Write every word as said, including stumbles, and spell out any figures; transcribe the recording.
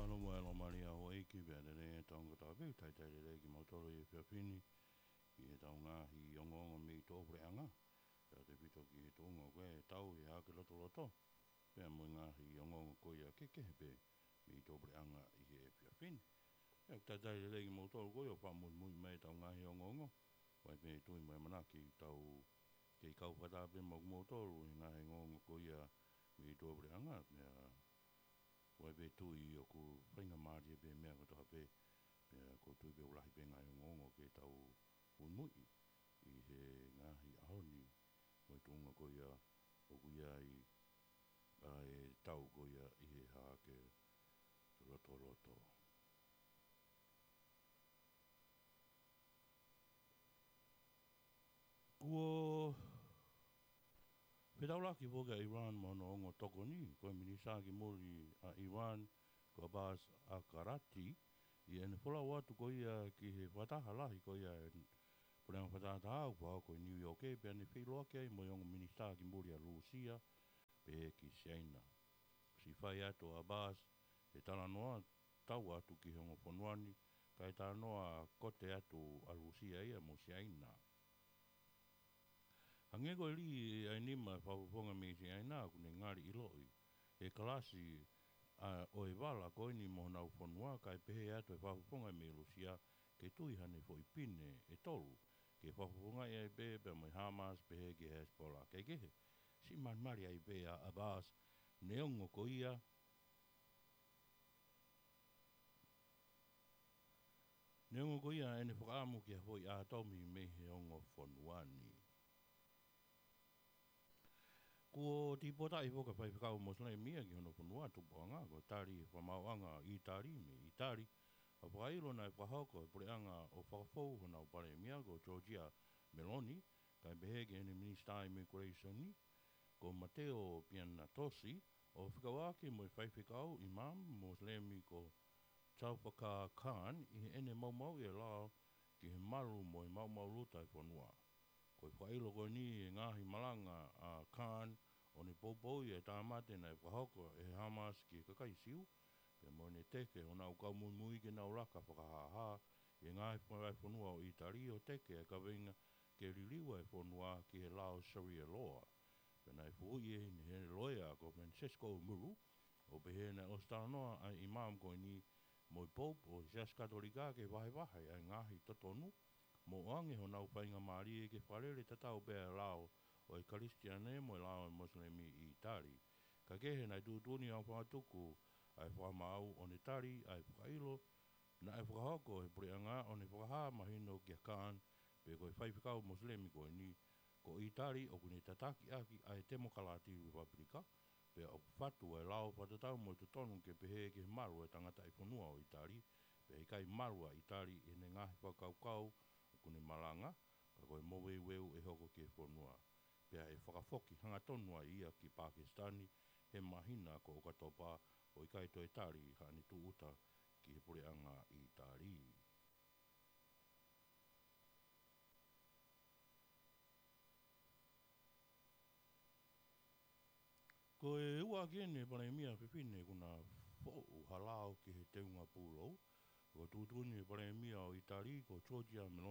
Mālō mo e ʻaloʻofa maʻa e ʻEiki, pea lelei e tau ngata pē, talitali lelei kimoutolu he efiafi ni, ʻi heʻetau ngaahi ongoongo mei tuʻapuleʻanga, pea tefito ki he tuʻunga ko e tau ʻi he Hahake Lotoloto, pea mo e ngaahi ongoongo ko ia kehekehe pē mei tuʻapuleʻanga ʻi he efiafi ni. Pea ʻoku talitali lelei kimoutolu ko ia ʻoku fakamuimui mai ʻetau ngaahi ongoongo, ʻoku ʻi ai pē tui mo e ʻamanaki ʻoku tau kei kau fakataha pē mo kimoutolu he ngaahi ongoongo ko ia mei tuʻapuleʻanga, pea ʻoku ʻi ai pē tui ʻoku faingamālie pē meʻa kotoa pē, pea ʻoku ou tui pē ʻoku lahi pē ngaahi ongoongo ke tau muimui ʻi he ngaahi ʻaho ni, mo e tuʻunga ko ia ʻoku ʻi ai ʻa e tau ko ia ʻi he Hahake Lotoloto. Kuo fetaulaki foki ʻa ʻIran mo hono ongo tokoni, ko e Minisitā ki Muli ʻa ʻIran, ko Abbas Araghchi, ʻi heʻene folau atu ko ia ki he fakataha lahi ko ia ʻa e Puleʻanga Fakatahataha ʻoku fakahoko ʻi Niu ʻIoke, pea ne feʻiloaki ai mo e ongo Minisitā ki Muli ʻa Lūsia, pehē ki Siaina. Siʻi fai atu ʻa Abbas he talanoa tau atu ki he ongo fonua ni, kae talanoa kote atu ʻa Lūsia ia mo Siaina. Hangē ko e lī ʻa e nima ʻo e fakafofonga mei Siaina ʻoku ne ngali ʻiloʻi ʻe he kalasi ʻo e vala ko eni mo honau fonua, kae pehē atu ʻe he fakafofonga mei Lūsia ke tui haʻane foʻi pine ʻe tolu ke fakafofongaʻi ai pē, pea mo e Hamas pehē ki he Hezbollah. Kae kehe, siʻi malimali ai pē ʻa Abbas, neongo ko ia, neongo ko ia ʻene fakaʻamu ki ha foʻi ʻātomi mei he ongo fonua ni. Kuo tīpotaʻi foki ʻa e faifekau Mosilemi ia ki hono fonua tupuʻanga, ko Tali Fakamaauʻanga ʻo ʻĪtali mei ʻĪtali, ʻo fakaʻilo naʻe fakahoko ʻe he puleʻanga ʻo fakafou honau palēmia ko Giorgia Meloni, kae pehē ki heʻene Minisitā Immigration ko Matteo Piantatossi, ʻo fekauʻaki mo e faifekau Imam Mosilemi ko Zulfikar Khan ʻi heʻene maumauʻi e lao ki he malu mo e maumau luta ʻa e fonua. Ko e fakaʻilo ko eni ʻi he ngaahi malanga ʻa Khan ʻo ne poupouʻi ʻa e tāmate naʻe fakahoko ʻe he Hamas ki he kakai Siu, pea mo ʻene teke honau kau muimui ke nau laka fakahāhā ʻi he ngaahi vahefonua ʻo ʻĪtali ʻo teke ʻa e kaveinga ke liliu ʻa e fonua ki he lao Sharia law. Pea naʻe fehuʻi ʻe he loea ko Francesco Muru, ʻo pehē naʻe ʻosi talanoa ʻa e Imam ko eni mo e Pope ʻo e Siasi Katolika ke vahevahe ʻa e ngaahi totonu, mo ʻoange honau faingamālie ke fakalele tatau pē ʻa e lao ʻo e Kalisitiane mo e lao ʻo e Mosilemi ʻi ʻĪtali. Kae kehe, naʻe tuʻutuʻuni ʻa e fakatuku ʻa e fakamaau ʻo ne tali ʻa e fakaʻilo naʻe fakahoko ʻe he puleʻanga ʻo ne fakahā mahino kia Khan pe ko e faifekau Mosilemi ko eni, ko ʻĪtali ʻoku ne tataki ʻaki ʻa e temokalati repapilika, pea ʻoku fatu ʻa e lao fakatatau mo e totonu ke pehē ki he malu ʻa e tangataʻifonua ʻo ʻĪtali, pea ʻikai malu ʻa ʻĪtali ʻi heʻene ngaahi fakakaukau ʻoku ne malanga, ka ko e moveuveu ʻe hoko ki he fonua. Pea ʻe fakafoki hangatonu ai ia ki Pakisitani he māhina ko ʻOkatopa, ʻo ʻikai toe tali haʻane tūʻuta ki he puleʻanga ʻi ʻĪtali. Ko e ua ʻaki eni e palēmia fefine kuo na foʻu ha lao ki he teunga pūlou, ko e tuʻutuʻuni ʻe he palēmia ʻo ʻĪtali ko Giorgia Meloni,